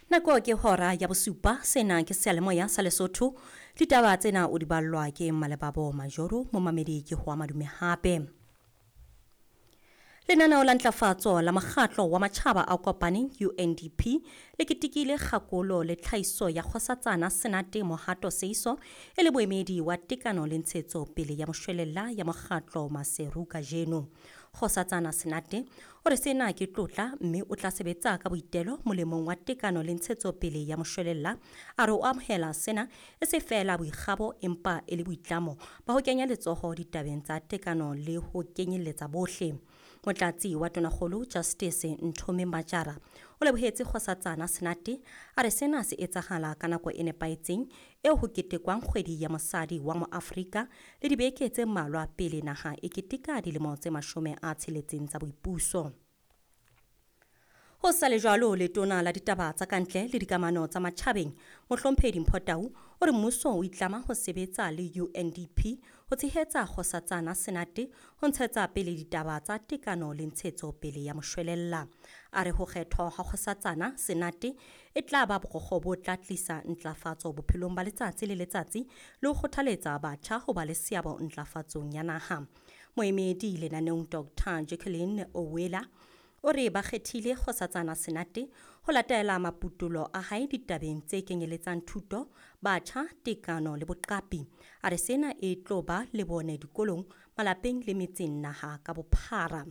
Nako ke hora ya bosupa, sena ke seyalemoya sa Lesotho. Ditaba tsena o di ballwa ke Malebabo Majoro, momamedi ke ho madume hape. Lenaneo la ntlafatso la mokgatlo wa matjhaba a kopaneng UNDP le ketekile kgakolo le tlhahiso ya Kgosatsana Senate Mohato Seiso e le boemedi wa tekano le ntshetso pele ya moshwelella ya mokgatlo Maseru kajeno. Kgosatsana Senate o re sena ke tlotla mme o tla sebetsa ka boitelo molemong wa tekano le ntshetso pele ya moshwelella. A re o amohela sena e se feela boikgabo empa e le boitlamo ba ho kenya letsoho ditabeng tsa tekano le ho kenyelletsa bohle. Motlatsi wa Tonakgolo Justice Nthome Majara o lebohetse Kgosatsana Senate, a re sena se etsahala ka nako e nepahetseng eo ho ketekwang kgwedi ya mosadi wa Moafrika le dibeke tse mmalwa pele naha e keteka dilemo tse 60 tsa boipuso. Ho sa le jwalo, letona la ditaba tsa kantle le dikamano tsa matjhabeng Mohlomphehi Mpho Tau o re mmuso o itlama ho sebetsa le UNDP ho tshehetsa Kgosatsana Senate ho ntshetsa pele ditaba tsa tekano le ntshetso pele ya moshwelella. A re ho kgethwa ha Kgosatsana Senate e tla ba borokgo bo tla tlisa ntlafatso bophelong ba letsatsi le letsatsi le ho kgothaletsa batjha ho ba le seabo ntlafatsong ya naha. Moemedi lenaneong Dr. Jacqueline Owela o re ba kgethile Kgosatsana Senate ho latela maputulo a hae ditabeng tse kenyeletsang thuto, batjha, tekano le boqapi. A re sena e tlo ba le bone dikolong, malapeng le metseng naha ka bophara.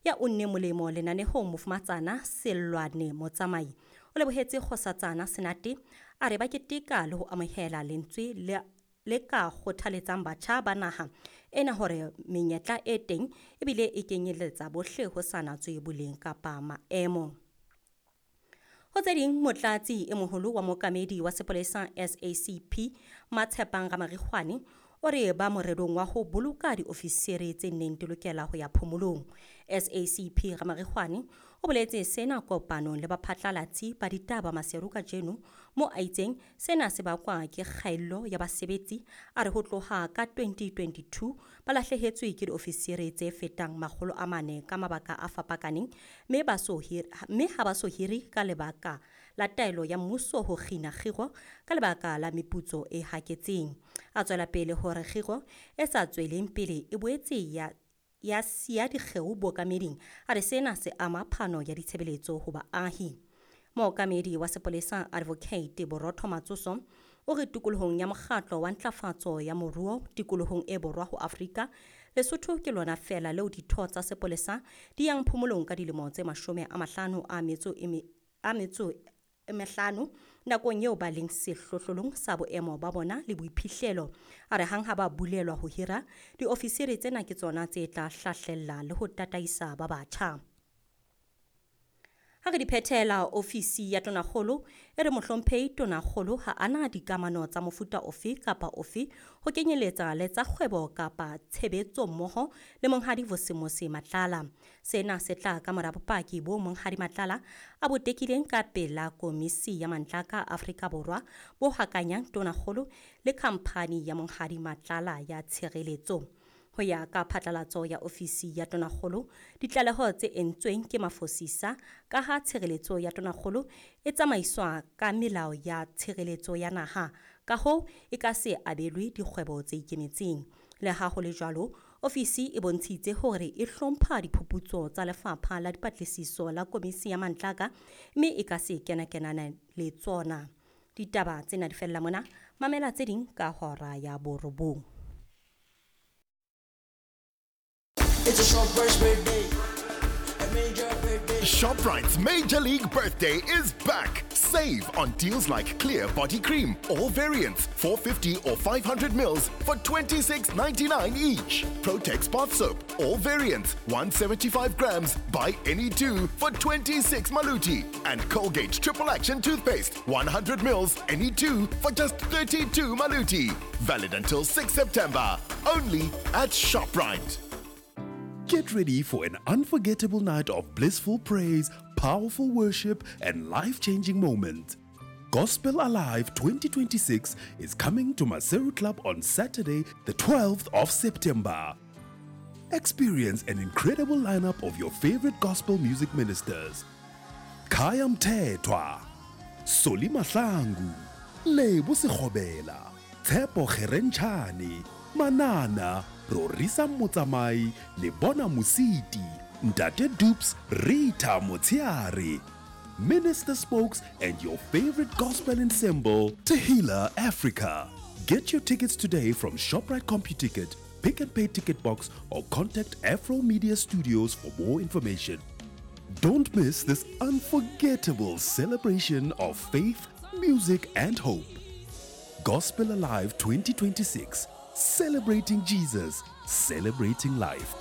Ya unne molemo lenanehong Mofumatsana Sellwane Motsamai o lebohetse Kgosatsana Senate, a re ba keteka le ho amohela lentswe le ka kgothaletsang batjha ba naha ena hore menyetla e teng ebile e kenyeletsa bohle ho sa natswe boleng kapa maemo. Ho tse ding, motlatsi e moholo wa mookamedi wa sepolesa SACP Matshepang Ramarikgwane o re ba morerong wa ho boloka diofisiri tse neng di lokela ho ya phomolong. SACP Ramarikgwane o boletse sena kopanong le baphatlalatsi ba ditaba Maseru kajeno, mo a itseng sena se bakwa ke kgaello ya basebetsi. A re ho tloha ka 2022 ba lahlehetswe ke diofisiri tse fetang 400 ka mabaka a fapakaneng, mme ha ba so hire ka lebaka la taelo ya mmuso ho kgina kgiro ka lebaka la meputso e haketseng. A tswela pele hore kgiro e sa tsweleng pele e boetse ya siya dikgeo bookameding. A re sena se ama phano ya ditshebeletso ho baahi. Mookamedi wa sepolesa Advocate Borotho Matsoso o re tikolohong ya mokgatlo wa ntlafatso ya moruo tikolohong e borwa ho Afrika, Lesotho ke lona feela leo ditho tsa sepolesa di yang phomolong ka dilemo tse 55 nakong eo ba leng sehlohlolong sa boemo ba bona le boiphihlelo. A re hang ha ba bulelwa ho hira, diofisiri tsena ke tsona tse tla hlahlella le ho tataisa ba batjha. Ha re di phethela, ofisi ya Tonakgolo e re Mohlomphehi Tonakgolo ha ana dikamano tsa mofuta ofe kapa ofe ho kenyeletsa le tsa kgwebo kapa tshebetso mmoho le Monghadi Vusimuzi Matlala. Sena se tla ka mora bopaki bo Monghadi Matlala a bo tekileng ka pela Komisi ya Mantlaka Afrika Borwa bo hakanyang Tonakgolo le khamphani ya Monghadi Matlala ya tshireletso. Ho ya ka phatlalatso ya ofisi ya Tonakgolo, ditlaleho tse entsweng ke mafosisa ka ha tshireletso ya Tonakgolo e tsamaiswa ka melao ya tshireletso ya naha, ka hoo e ka se abelwe dikgwebo tse ikemetseng. Le ha ho le jwalo, ofisi e bontshitse hore e hlompha diphuputso tsa lefapha la dipatlisiso la Komisi ya Mantlaka mme e ka se kenakenana le tsona. Ditaba tsena di fella mona, mamela tse ding ka hora ya 9. It's a ShopRite's birthday. A major birthday. ShopRite's Major League Birthday is back. Save on deals like Clear Body Cream, all variants, 450 or 500 mils for $26.99 each. Protex Bath Soap, all variants, 175 grams, buy any two for 26 maluti. And Colgate Triple Action Toothpaste, 100 mils, any two for just 32 maluti. Valid until 6 September. Only at ShopRite. Get ready for an unforgettable night of blissful praise, powerful worship, and life-changing moments. Gospel Alive 2026 is coming to Maseru Club on Saturday, the 12th of September. Experience an incredible lineup of your favorite gospel music ministers. Kaya Mthethwa, Soli Mahlangu, Lebo Sekgobela, Tshepo Kgerentšhane, Manana, Rorisa Motsamai, Lebona Mositi, Ntate Dupes, Rita Motsheare, Minister Spokes, and your favorite gospel ensemble, Tehila Africa. Get your tickets today from ShopRite CompuTicket, Pick and Pay Ticket Box, or contact Afro Media Studios for more information. Don't miss this unforgettable celebration of faith, music, and hope. Gospel Alive 2026, celebrating Jesus, celebrating life.